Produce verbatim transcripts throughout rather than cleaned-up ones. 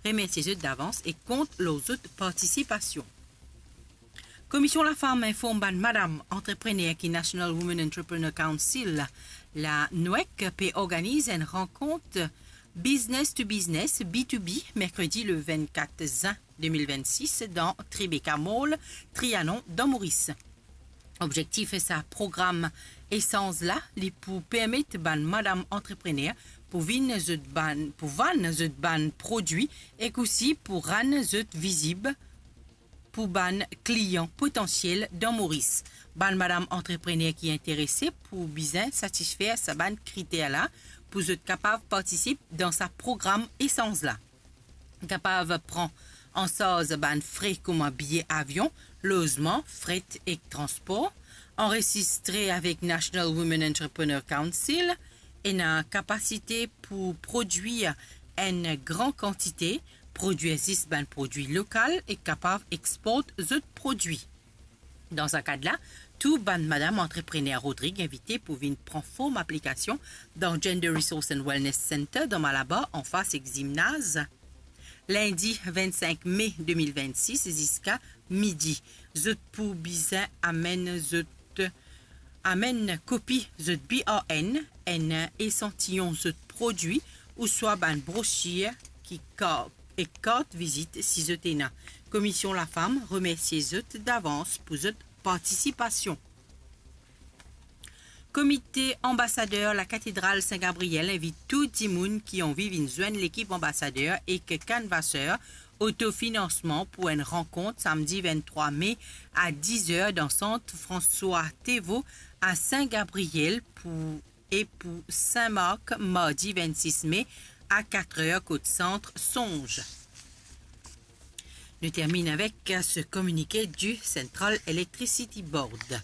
Remersie zot davans e kont lor zot partisipasion. Komision Lafam inform bann madam antreprener ki National Women Entrepreneur Council, la NWEC, pe organiz enn rankont business to business, B to B, merkredi le vennkat zin de mil vennsis dan Tribeca Mall, Trianon, dan Moris. Objektif sa program esanz la, li pou permet bann madam antreprener pou vinn zot bann, pou vann zot bann prodwi ek osi pou rann zot vizib pou bann klian potansiel dan Moris. Bann madam antreprener ki interese pou bizin satisfer sa bann kriter la pou zot kapav partisip dan sa program esanz la. Kapav pran an sarz bann fre kouma biye avion, lozman, fret ek transpor, anresistre avek National Women Entrepreneur Council, ena kapasite pou prodwir enn gran kantite, prodwir zis bann prodwi lokal e kapav export zot prodwi. Dan sa kad la, tou bann madam antreprener Rodrig invite pou vinn pran form aplikasion dan Gender Resource and Wellness Center dan Malabar, anfas ek zimnaz. Lindi vennsenk me de mil vennsis ziska midi. Zot pou bizin amenn zot, amenn kopi zot B R N, enn esantiyon zot prodwi, ouswa bann brosir ki ka-, ek kart vizit si zot ena. Komision Lafam remersie zot davans pou zot partisipasion. Komite Anbasader Lakatedral Sin Gabriel invit tou dimoun ki anvi vinn zwenn lekip anbasader ek kanvaser otofinansman pou enn rankont samdi venntrwa me a diz er dan sant François Théveaux a Sin Gabriel pou, e pou Sin Mark, mardi vennsis me a katr er kot sant Songe. Nous terminons avec ce communiqué du Central Electricity Board.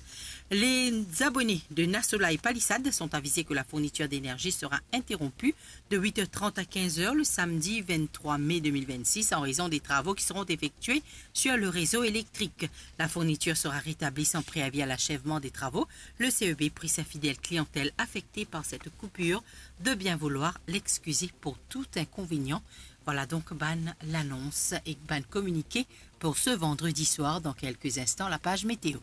Les abonnés de Nasolai Palisades sont avisés que la fourniture d'énergie sera interrompue de huit heures trente à quinze heures le samedi vingt-trois mai deux mille vingt-six en raison des travaux qui seront effectués sur le réseau électrique. La fourniture sera rétablie sans préavis à l'achèvement des travaux. Le C E B prie sa fidèle clientèle affectée par cette coupure de bien vouloir l'excuser pour tout inconvénient. Vwala donk bann lanons ek bann kominike pour ce vendredi soir. Dans quelques instants, la page météo.